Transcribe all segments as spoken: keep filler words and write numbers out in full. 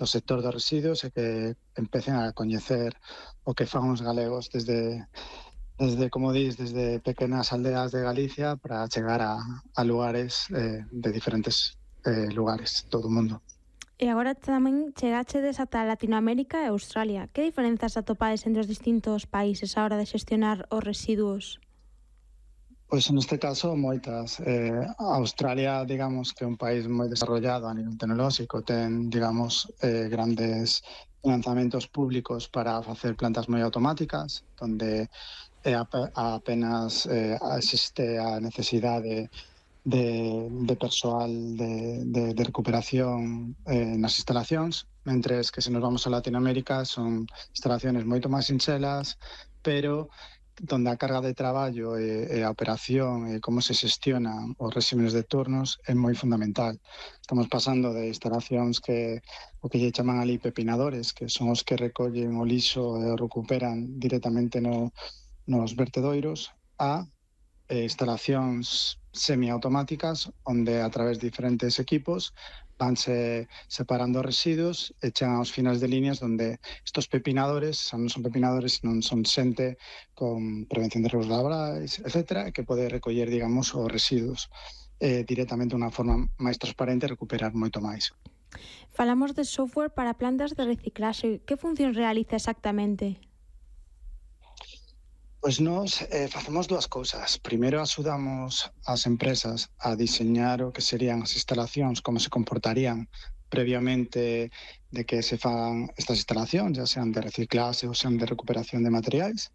do sector dos residuos e que empecen a coñecer o que fan os galegos desde, desde como dis, desde pequenas aldeas de Galicia para chegar a, a lugares eh, de diferentes eh, lugares, todo o mundo. E agora tamén chegachedes ata Latinoamérica e Australia. Que diferenzas atopades entre os distintos países á hora de xestionar os residuos? Pois neste caso moitas. Eh, Australia, digamos, que é un país moi desarrollado a nivel tecnolóxico, ten, digamos, eh, grandes lanzamentos públicos para facer plantas moi automáticas, onde eh, ap- apenas eh, existe a necesidade de, de persoal de, de, de recuperación eh, nas instalacións, mentres que se nos vamos a Latinoamérica son instalaciones moito máis sinxelas, pero donde a carga de traballo e, e a operación e como se xestionan os réximes de turnos é moi fundamental. Estamos pasando de instalacións que o que lle chaman ali pepinadores, que son os que recollen o lixo e o recuperan directamente no, nos vertedoiros, a eh, instalacións semiautomáticas onde a través de diferentes equipos vanse separando os residuos e chegan aos finais de líneas onde estos pepinadores non son pepinadores, non son xente con prevención de riesgos laborais, etcétera, que pode recoller, digamos, os residuos eh, directamente de unha forma máis transparente e recuperar moito máis. Falamos de software para plantas de reciclaxe. Que función realiza exactamente? Pois nós eh, facemos dúas cousas. Primeiro, axudamos as empresas a diseñar o que serían as instalacións, como se comportarían previamente de que se fan estas instalacións, ya sean de reciclaxe ou sean de recuperación de materiais.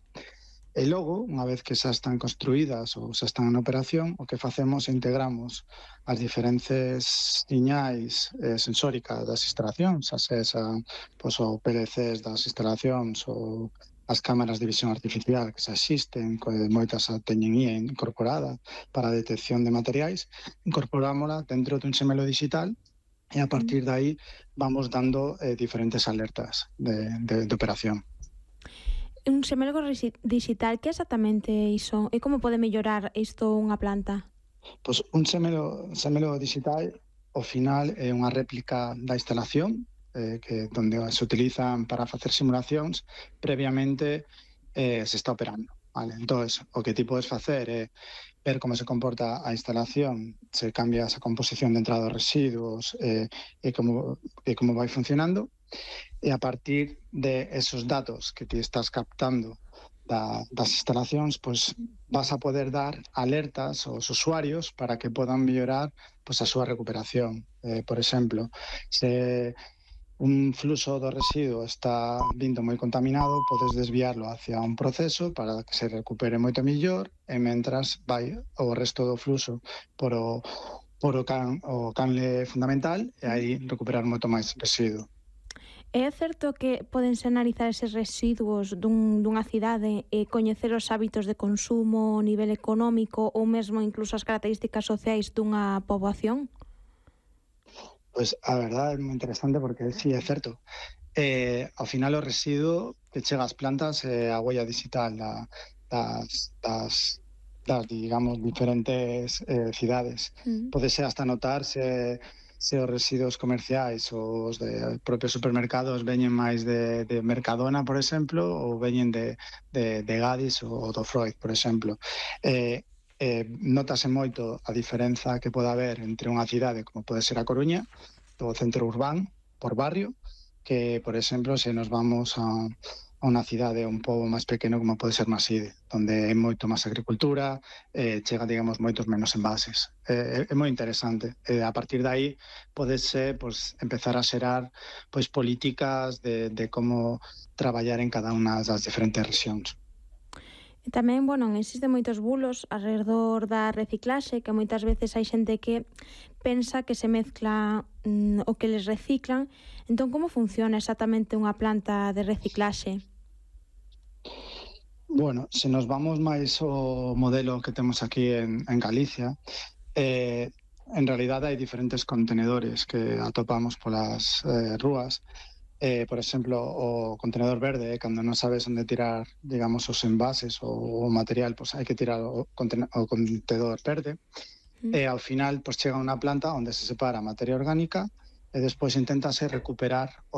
E logo, unha vez que xa están construídas ou xa están en operación, o que facemos é integramos as diferentes siñais eh, sensóricas das instalacións, xa sean pois, o P L Cs das instalacións ou as cámaras de visión artificial que xa existen, que moitas a teñen I A incorporada para a detección de materiais, incorporámola dentro dun xemelo digital e a partir de aí vamos dando eh, diferentes alertas de, de, de operación. Un xemelo digital, que exactamente iso? E como pode mellorar isto unha planta? Pois un xemelo, xemelo digital, ao final, é unha réplica da instalación, eh, que donde se utilizan para facer simulacións, previamente eh, se está operando. Vale? Entón, o que ti podes facer é ver como se comporta a instalación, se cambia esa composición de entrada dos residuos eh, e, como, e como vai funcionando, e a partir de esos datos que ti estás captando da, das instalacións, pois vas a poder dar alertas aos usuarios para que podan mellorar pois, a súa recuperación. Eh, por exemplo, se un fluxo do residuo está vindo moi contaminado, podes desviarlo hacia un proceso para que se recupere moito mellor e mentras vai o resto do fluxo por o, por o, can, o canle fundamental e aí recuperar moito máis residuo. É certo que podense analizar eses residuos dun, dunha cidade e coñecer os hábitos de consumo, o nivel económico ou mesmo incluso as características sociais dunha poboación? Pois a verdade é moi interesante porque sí, é certo. Eh, ao final o residuo que chega ás plantas é a huella digital da, das, das, das, digamos, diferentes eh, cidades. Mm. Podese hasta notar se, se os residuos comerciais ou os de propios supermercados veñen máis de, de Mercadona, por exemplo, ou veñen de, de, de Gadis ou do Freud, por exemplo. Eh, Eh, notase moito a diferenza que pode haber entre unha cidade como pode ser a Coruña, do centro urbano, por barrio, que, por exemplo, se nos vamos a, a unha cidade, un pobo máis pequeno como pode ser Maside, onde é moito máis agricultura, eh, chega, digamos, moitos menos envases. Eh, é, é moi interesante. Eh, a partir de aí, podese pues, empezar a xerar pues, políticas de, de como traballar en cada unha das diferentes rexións. E tamén, bueno, existen moitos bulos alrededor da reciclaxe, que moitas veces hai xente que pensa que se mezcla mm, o que les reciclan. Entón, como funciona exactamente unha planta de reciclaxe? Bueno, se nos vamos máis ao modelo que temos aquí en, en Galicia, eh, en realidade hai diferentes contenedores que atopamos polas eh, rúas. Eh, por exemplo, o contenedor verde, eh, cando non sabes onde tirar, digamos, os envases ou o material, pois hai que tirar o, conten o contenedor verde. Mm. E ao final, pois chega a unha planta onde se separa a materia orgánica e despois inténtase recuperar